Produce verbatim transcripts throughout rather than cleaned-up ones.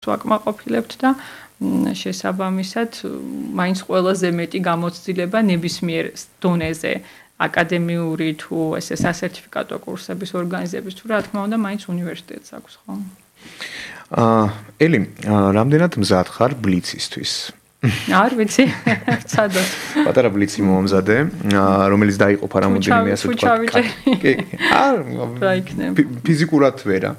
ვაკმაყოფილებთ და შესაბამისად მაინც ყველაზე მეტი გამოცდილება ნებისმიერ დონეზე აკადემიური თუ ესე სასერტიფიკატო კურსების ორგანიზების თუ რა თქმა უნდა მაინც უნივერსიტეტს აქვს ხო? აა ელი, რამდენად მზად ხარ ბლიცისთვის? არ ვიცი, ცადოთ. პატარა ბლიცი მომზადე, რომელიც დაიყოფა რამოდენიმე ასე თქვა. კი, არ ფიზიკურად ვერა.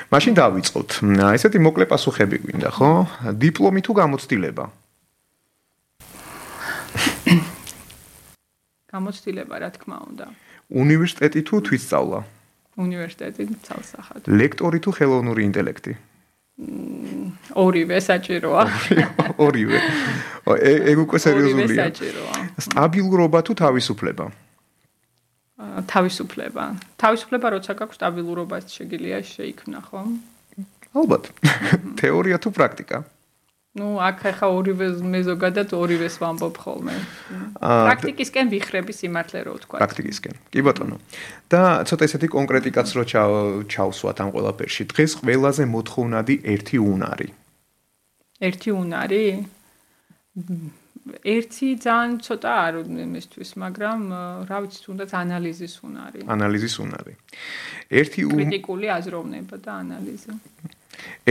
მაშინ დავიწყოთ. ესეთი მოკლე პასუხები გვინდა, ხო? დიპლომი თუ გამოცდილება? გამოცდილება, რა თქმა უნდა. უნივერსიტეტი თუ თვითსწავლა? უნივერსიტეტი თვალსახად. ლექტორი თუ ხელოვნური ინტელექტი? ორივე საჭიროა. ორივე. ეგ უკვე სერიოზულია. ორივე საჭიროა. სტაბილურობა თუ თავისუფლება? თავისუფლება. თავისუფლება როცა გაქვს სტაბილურობას შეგიძლია შეიქმნა, ხო? ალბათ. თეორია თუ პრაქტიკა? ну, აქ ახლა ორივე მე ზოგადად ორივეს ვამბობ ხოლმე. პრაქტიკისკენ ვიხრები სიმართლე რო ვთქვა. პრაქტიკისკენ. კი ბატონო. და ცოტა ესეთი კონკრეტიკაც რო ჩავსვათ ამ ყველაფერში. დღეს ყველაზე მოთხოვნადი ერთი უნარი. ერთი უნარი? ერთი ძალიან ცოტა არ იმისთვის, მაგრამ რა ვიცი, თუნდაც ანალიზის უნარი. ანალიზის უნარი. ერთი კრიტიკული აზროვნება და ანალიზი.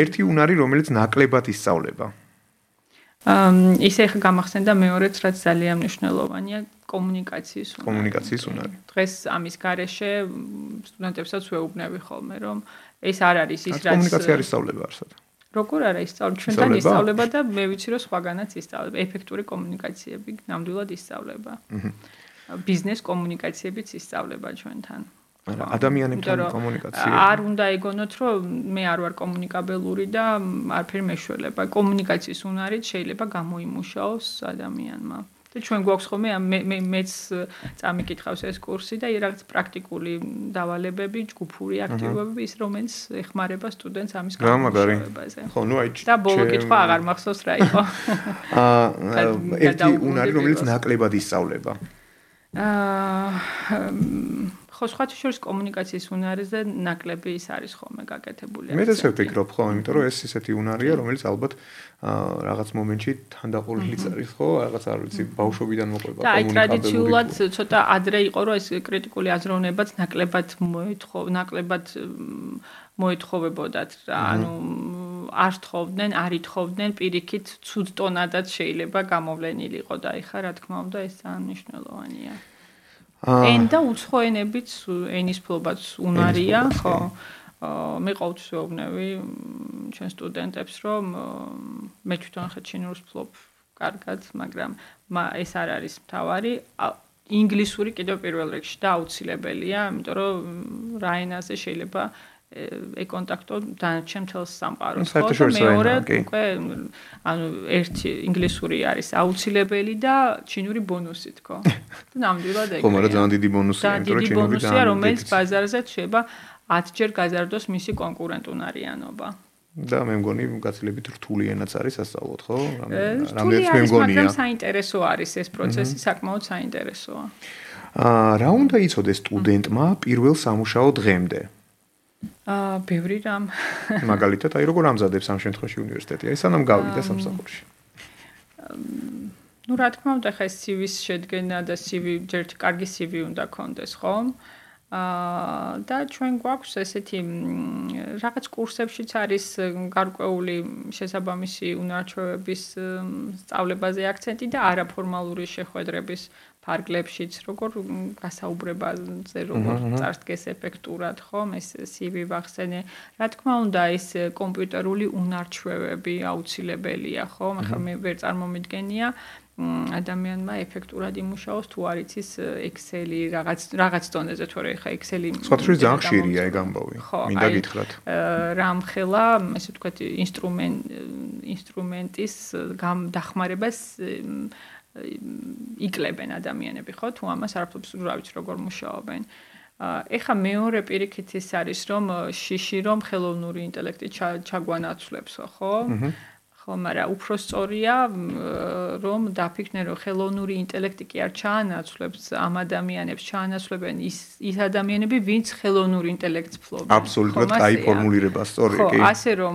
ერთი უნარი, რომელიც ნაკლებად ისწავლება. ამ ისე ხა გამახსენდა მეორეც, რაც ძალიან მნიშვნელოვანია, კომუნიკაციის უნარი. კომუნიკაციის უნარი. დღეს ამის გარეშე სტუდენტებსაც ვეუბნები ხოლმე, რომ ეს არ არის ის, რაც კომუნიკაცია არ ისწავლება არსად. როგორ არა ისწავლება? ჩვენთან ისწავლება და მე ვიცი, რომ სხვაგანაც ისწავლება. ეფექტური კომუნიკაციები ნამდვილად ისწავლება. ბიზნეს კომუნიკაციებიც ისწავლება ჩვენთან. ადამიანებთან კომუნიკაცია. არ უნდა ეგონოთ, რომ მე არ ვარ კომუნიკაბელური და არაფერი მეშველება. კომუნიკაციის უნარით შეიძლება გამოიმუშაოს ადამიანმა. და ჩვენ გვაქვს ხოლმე მე მეც წამიკითხავს ეს კურსი და რაღაც პრაქტიკული დავალებები, ჯგუფური აქტივობები, ის რომელიც ეხმარება სტუდენტს ამის გამომუშავებაზე. ხო, ნუ აი და ბოლო კითხვა აღარ მახსოვს რა იყო. აა ერთი უნარი, რომელიც ნაკლებად ისწავლება. აა ხო, სხვათა შორის კომუნიკაციის უნარზე ნაკლები ის არის ხოლმე გაკეთებული. მე ესე ვფიქრობ, ხო, იმიტომ რომ ეს ისეთი უნარია, რომელიც ალბათ რაღაც მომენტში თანდაყოლილიც არის, ხო, რაღაც არ ვიცი, ბავშვობიდან მოყვება კომუნიკაბელური. და აი ტრადიციულად ცოტა ადრე იყო, რომ ეს კრიტიკული აზროვნებაც ნაკლებად მოეთხოვ, ნაკლებად მოეთხოვებოდათ, ანუ არ თხოვდნენ, არ ითხოვდნენ, პირიქით ცუდ ტონადაც შეიძლება გამოვლენილიყო და ეხა რა თქმა უნდა ეს ძალიან მნიშვნელოვანია. ენდა უცხო ენებიც ენის ფლობაც უნარია, ხო? მე ყოველთვის ვეუბნები ჩვენ სტუდენტებს, რომ მე თვითონ ხა ჩინურს ფლობ კარგად, მაგრამ ეს არ არის მთავარი. ინგლისური კიდევ პირველ რიგში და აუცილებელია, იმიტომ რომ რა ენაზე შეიძლება ეკონტაქტო დანარჩენ მთელს სამყაროს. ხო, მეორე უკვე ანუ ერთი ინგლისური არის აუცილებელი და ჩინური ბონუსი თქო. და ნამდვილად ეგრეა. ხო, მაგრამ ძალიან დიდი ბონუსია, იმიტომ რომ ჩინური ბონუსია, რომელიც ბაზარზე შეიძლება ათჯერ გაზარდოს მისი კონკურენტუნარიანობა. და მე მგონი გაცილებით რთული ენაც არის ასწავლოთ, ხო? რამდენიც მე მგონია. მაგრამ საინტერესო არის ეს პროცესი, საკმაოდ საინტერესოა. აა რა უნდა იცოდეს სტუდენტმა პირველ სამუშაო დღემდე? აა ბევრი რამ. მაგალითად, აი როგორ ამზადებს ამ შემთხვევაში უნივერსიტეტი? აი სანამ გავიდა სამსახურში. ну რა თქმა უნდა, ხა სი ვი-ს შედგენა და სი ვი ჯერ კარგი სი ვი უნდა კონდეს, ხო? აა და ჩვენ გვაქვს ესეთი რაღაც კურსებშიც არის გარკვეული შესაბამისი უნარჩვევების სწავლებაზე აქცენტი და არაფორმალური შეხვედრების ფარგლებშიც, როგორ გასაუბრებაზე, როგორ წარსდგეს ეფექტურად, ხო, ეს სი ვი ვახსენე. რა თქმა უნდა, ეს კომპიუტერული უნარჩვევები აუცილებელია, ხო? ახლა მე ვერ წარმომიდგენია ადამიანმა ეფექტურად იმუშაოს თუ არ იცის Excel-ი რაღაც რაღაც დონეზე, თორე ხა Excel-ი სხვათაშორის ძალიან ხშირია ეგ ამბავი. მინდა გითხრათ. რამხელა, ესე ვთქვათ, ინსტრუმენტ ინსტრუმენტის დახმარებას იკლებენ ადამიანები, ხო? თუ ამას არაფერს რა ვიცი როგორ მუშაობენ. ეხა მეორე პირიქით ის არის, რომ შიში რომ ხელოვნური ინტელექტი ჩაგვანაცვლებს, ხო? ხო, მაგრამ უფრო სწორია რომ დაფიქრდნენ რომ ხელოვნური ინტელექტი კი არ ჩაანაცვლებს ამ ადამიანებს, ჩაანაცვლებენ ის ის ადამიანები, ვინც ხელოვნურ ინტელექტს ფლობენ. აბსოლუტურად კაი ფორმულირება, სწორია, კი. ხო, ასე რომ